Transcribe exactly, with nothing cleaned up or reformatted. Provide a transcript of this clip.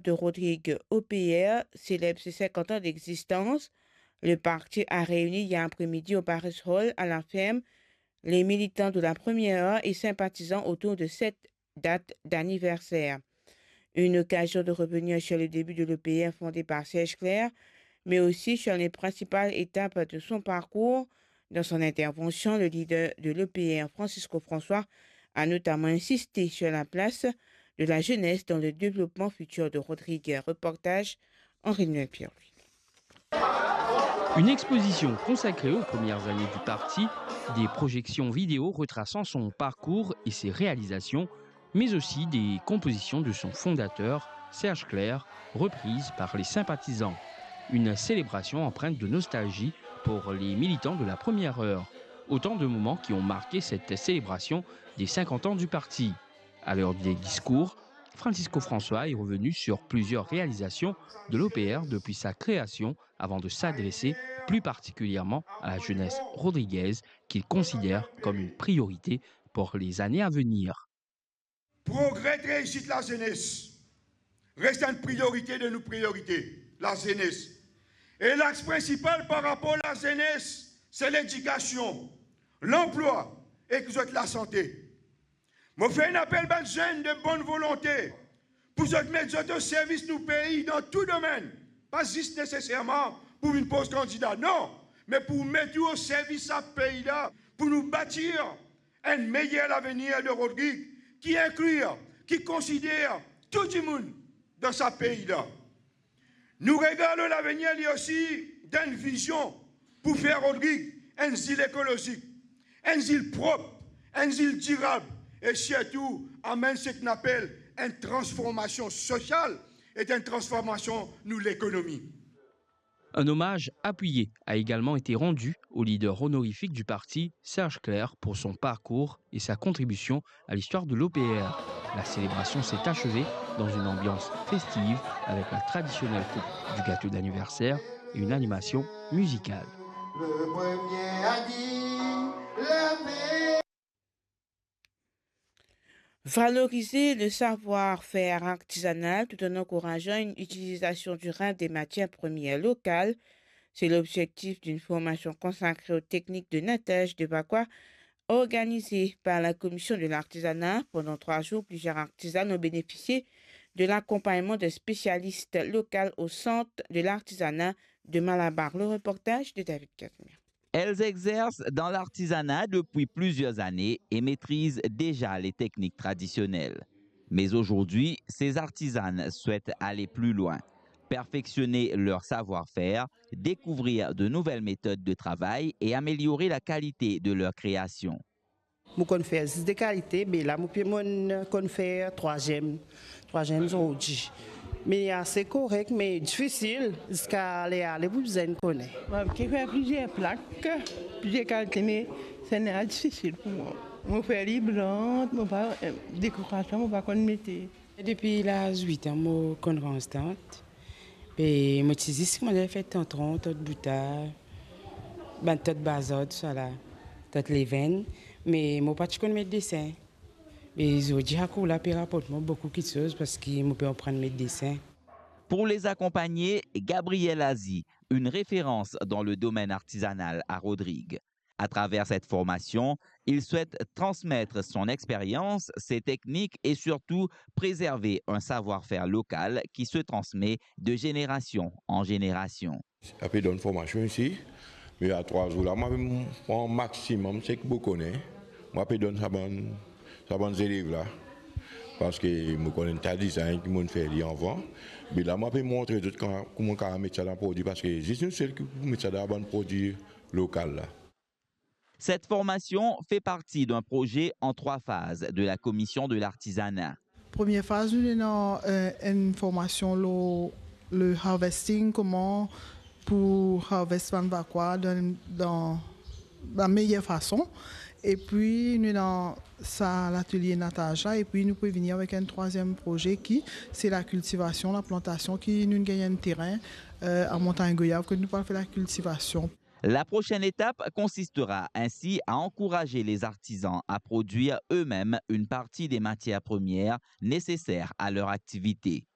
de Rodrigue O P R célèbre ses cinquante ans d'existence. Le parti a réuni hier après-midi au Paris Hall à la ferme les militants de la première heure et sympathisants autour de cette date d'anniversaire. Une occasion de revenir sur le début de l'O P R fondé par Serge Clair, mais aussi sur les principales étapes de son parcours. Dans son intervention, le leader de l'O P R, Francisco François, a notamment insisté sur la place de la jeunesse dans le développement futur de Rodrigue. Reportage, Henri-Noël Pierre-Louis. Une exposition consacrée aux premières années du parti, des projections vidéo retraçant son parcours et ses réalisations, mais aussi des compositions de son fondateur, Serge Clair, reprises par les sympathisants. Une célébration empreinte de nostalgie pour les militants de la première heure. Autant de moments qui ont marqué cette célébration des cinquante ans du parti. À l'heure des discours, Francisco François est revenu sur plusieurs réalisations de l'O P R depuis sa création, avant de s'adresser plus particulièrement à la jeunesse rodriguaise, qu'il considère comme une priorité pour les années à venir. Progre ek reisit lazenes res enn priorite de nou priorite, lazenes. E lax prinsipal par rapor lazenes, se ledikasion, lanplwa ek zot lasante. Mo fer enn apel bann zenn de bonn volonte pou zot met zot o servis nou pei dan tou domenn, pa zis neseserman pou vinn poz kandida, non, me pou met ou o servis sa pei la, pou nou batir enn meyer lavenir de Rodrig ki inklir, ki konsider tou dimoun dan sa pei la. Nou regard lor lavenir li osi dan enn vizion pou fer Rodrig enn zil ekolozik, enn zil prop, enn zil dirab e sirtou amenn seki nou apel enn transformasion sosial ek enn transformasion nou lekonomi. Un hommage appuyé a également été rendu au leader honorifique du parti, Serge Clair, pour son parcours et sa contribution à l'histoire de l'O P R. La célébration s'est achevée dans une ambiance festive avec la traditionnelle coupe du gâteau d'anniversaire et une animation musicale. Valoriser le savoir-faire artisanal tout en encourageant une utilisation durable des matières premières locales, c'est l'objectif d'une formation consacrée aux techniques de nattage de Vacoas, organisée par la Commission de l'artisanat. Pendant trois jours, plusieurs artisans ont bénéficié de l'accompagnement d'un spécialiste local au Centre de l'artisanat de Malabar. Le reportage de David Casimir. Elles exercent dans l'artisanat depuis plusieurs années et maîtrisent déjà les techniques traditionnelles. Mais aujourd'hui, ces artisanes souhaitent aller plus loin, perfectionner leur savoir-faire, découvrir de nouvelles méthodes de travail et améliorer la qualité de leur création. Mo konn fer zis de kalite, me la mo pe, mo konn fer trwaziem, trwaziem zordi. Me ase korek, me difisil, ziska ler ale pou bizin kone. Mo pe fer plizier plak, plizier kalite, me sannla difisil pou mwa. Mo fer li blan, mo pa, eh, dekorasion, mo pa konn mete. Depi laz wit an, mo konn rans tant. Be mo ti zis koumans fer tantron, tant bouta, bann tant bazar, tousala, tant levenn, me mo pa ti konn met desin. Be zordi sa kour la pe raport mwa boukou kiksoz parski mo pe aprann met desin. Pour les accompagner, Gabrielle Azi, une référence dans le domaine artisanal à Rodrigues. À travers cette formation, il souhaite transmettre son expérience, ses techniques et surtout préserver un savoir-faire local qui se transmet de génération en génération. Ape donn formasion isi, me a trwa zour la, mo pe pran maximum seki mo kone, mo ape donn sa bann, sa bann zelev la, parski mo konn enn ta dizinn ki mo'nn fer li avan, me la mo ape montre zot kouma, kouma kapav met sa dan prodwi, parski zis nou sel ki pou met sa dan bann prodwi lokal la. Cette formation fait partie d'un projet en trois phases de la Commission de l'Artisanat. Premie faz, nou ena, eh, enn formasion lor le harvesting, kouma pou harvest bann vakwa dan, dan la meyer fason. Epi nou ena sa latelie nataz la, epi nou pou vini avek enn trwaziem proze ki se lakiltivasion, laplantasion, ki nou gagn enn terin, eh, a Montagne Goyave, kot nou pou al fer lakiltivasion. La prochaine étape consistera ainsi à encourager les artisans à produire eux-mêmes une partie des matières premières nécessaires à leur activité.